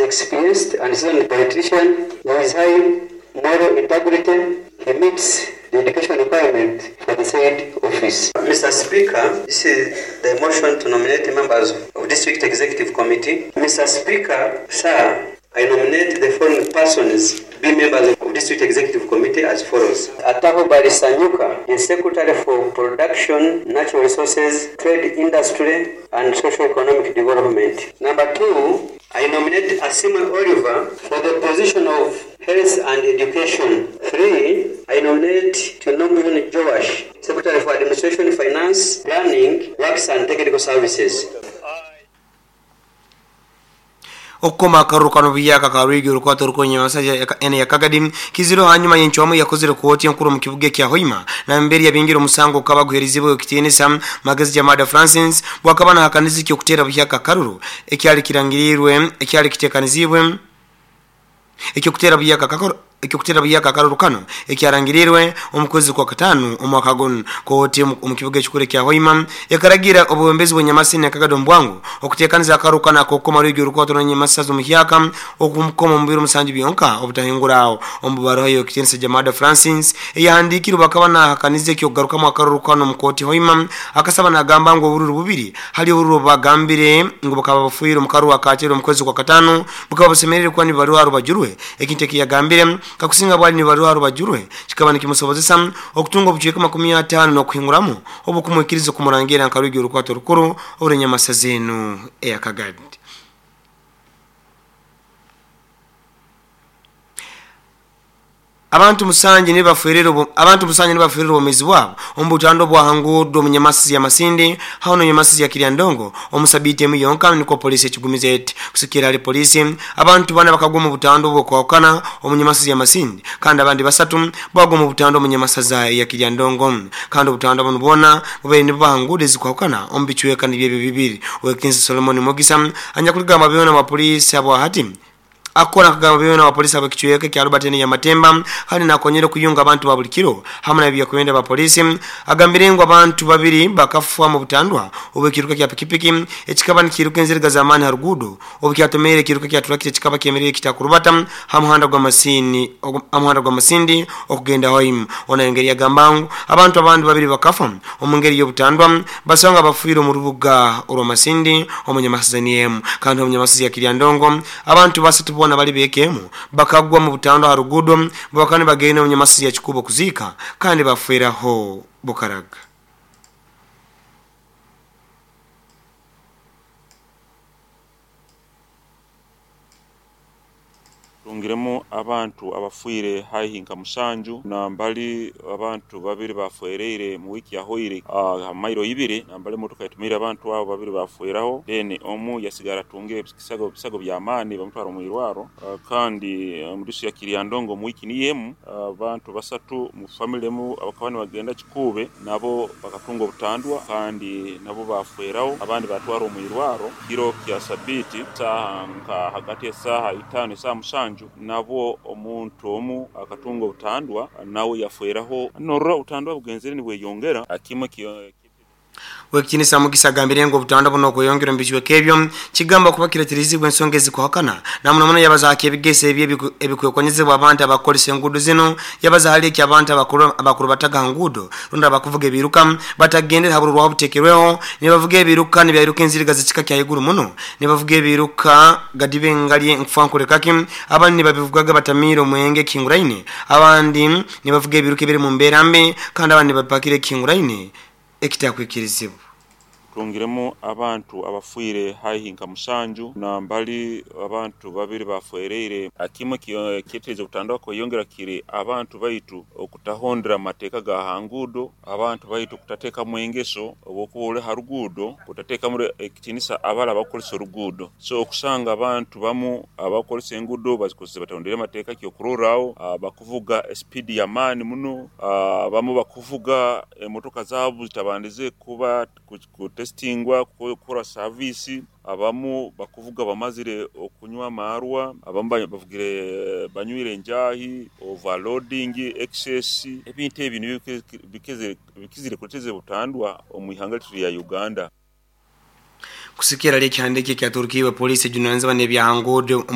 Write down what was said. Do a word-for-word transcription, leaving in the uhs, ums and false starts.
experienced and seasoned politician with high moral integrity. He meets the education requirement for the said office. Mister Speaker, this is the motion to nominate members of District Executive Committee. Mister Speaker, sir, I nominate the following persons to be members of District Executive Committee as follows. Ataho Barisanyuka is Secretary for Production, Natural Resources, Trade, Industry, and Social Economic Development. Number two, I nominate Asima Oliver for the position of Health and Education. Three, I nominate Tunomuyuni Joash, Secretary for Administration, Finance, Planning, Works and Technical Services. Okukoma akaruru kano biyaka karwigi urukwato rukonye masaja ene ya Kagadi kiziro hanyuma yenchwamu yakozere kooti enkuru mu kibuga kya Hoima na mbere yabingira omusango kaba guherizibwe kitiinisa Magezi Jamada Francis bwakabana hakanizi kyo kutera buyaka karuru ekyali kirangirirwe ekyali kitekanizibwe ekyo kutera buyaka kakoro ekyo kutera buyaka karuru kano ekyarangirirwe omukwezi kwa katano omwaka gono kooti mu kibuga ekikuru kya Hoima yakaragira obuwembezi bw'Nyamasini na Kagado mbwangu okutekaniza akaruru kano akokoma rwigi urukwato na Nyamasazo muhyaka okumukoma mu biro musanju byonka obutahingurawo omubaro yo kitensa Jamada Francis eyahandikirwa bakaba hakanize ekyo kugarukamu akaruru kano mu kooti Hoima akasaba nagamba ngo obururu bubiri hali obururu bagambire ngo bakaba bafuire mu karu akakiro omukwezi kwa katano bukaba busemerere kwa ni baruwa rubajurwe ekintu kiyagambire kakusinga bwali ni baruwa rubajurwe kikaba nikimusobozesa okutunga obucweka makumi atano n'okuhinguramu obukumwikiriza kumurangira nkarugi urukwato rukuru orunyamasaza eya Kagadi. Abantu musanje ne baferero abantu musanje ne baferero omezi wabo ombutando bwa hangudo munyamasizi ya Masindi hano nyamasizi ya Kiryandongo omusabite muyonka niko polisi ekigumize eti kusikira ali polisi abantu bana bakagwa mu butando bwo kwakana omunyamasizi ya Masindi kandi abandi basatu bagwa mu butando munyamasaza ya Kiryandongo kandi obutando buno bona bubere ne bahangude zikwakana ombichweka nibye bibiri Wekinsi Solomon Mugisa anya kuligamba byona wa polisi abo hati akora kagamba byona wa polisi abakichweka kya Albert ya Matemba hali nakonyera kuyunga abantu ba bulikiro hamwe na bya kwenda ba polisi agambire ngo abantu babiri bakafwa mu butandwa obekiruka kya pikipiki ekikaba nikiruka enziriga zamani harugudo obukyatomere kiruka kya turakite kikaba kemerere kitakurubata hamuhanda gwa masini amuhanda gwa masindi okugenda hoim ona engeri yagambangu abantu abandi babiri bakafa omungeri yo butandwa basanga bafuiro mu rubuga orwa masindi omunyamasazaniemu kandi omunyamasizi ya Kiryandongo abantu basatu bona bali bekemu bakagwa mu butando harugudo bakane bagenda omunyamasizi ya Kikubo kuzika kandi bafuiraho bukaraga. Tungiremo abantu abafuire haihi nka musanju na mbali abantu babiri bafuereire mu wiki ya hoire uh, mairo ibiri na mbali motoka itumira abantu abo babiri bafueraho then omu yasigara tungire bisago bisago bya amani bamutwara mu irwaro uh, kandi mudusu ya Kiryandongo mu wiki niyemu abantu uh, basatu mu family mu abakabani bagenda Kikube nabo bakatunga obutandwa kandi nabo bafueraho abandi batwara mu irwaro kiro kya sabiti saha nka hagati ya saha itano saha musanju nabo omuntu omu akatunga obutandwa nawe yafueraho norora obutandwa bugenzere nibweyongera akimwe Wekinisa Mugisa agambire ngo obutandwa buno kweyongera mbichweka ebyo kigamba kuba kireterizibwe ensonga ezikuhakana na muno muno yabaza akebigese ebye ebikwekonyezebwa abantu abakolesa enguudo zino yabaza hali eki abantu abakuru abakuru bataga nguudo runda abakuvuga ebiruka batagendera haburu rwa butekerweho nibavuga ebiruka nibyaruka enziriga zikika kya iguru muno nibavuga ebiruka gadibe ngali nkufankure kaki abandi nibabivugaga batamiro mwenge kinguraine abandi nibavuga ebiruka ebiri mu mbera mbi kandi abandi bapakire kinguraine ekitakwikirizibwa. Tungiremo abantu abafuire haihi nka musanju na mbali abantu babiri bafuereire akimwe kyetereza obutandwa kweyongera kiri abantu baitu okutahondera mateeka ga hangudo abantu baitu kutateka mwengeso obokuba harugudo kutateka muri ekitinisa abala abakolesa orugudo so okusanga abantu bamu abakolesa engudo bazikozesa batondera mateeka kyo kurorao bakuvuga speed ya mani muno abamu bakuvuga emotoka zabo zitabandize kuba testingwa kukora service abamu bakuvuga bamazire okunywa amarwa abamu bavugire banywire njahi overloading excess ebintu ebintu bikizire bikizire kuteze butandwa omuihanga ya Uganda. Kusikira leki handiki kya Turkiwe polisi junanzwa nebya hangudo.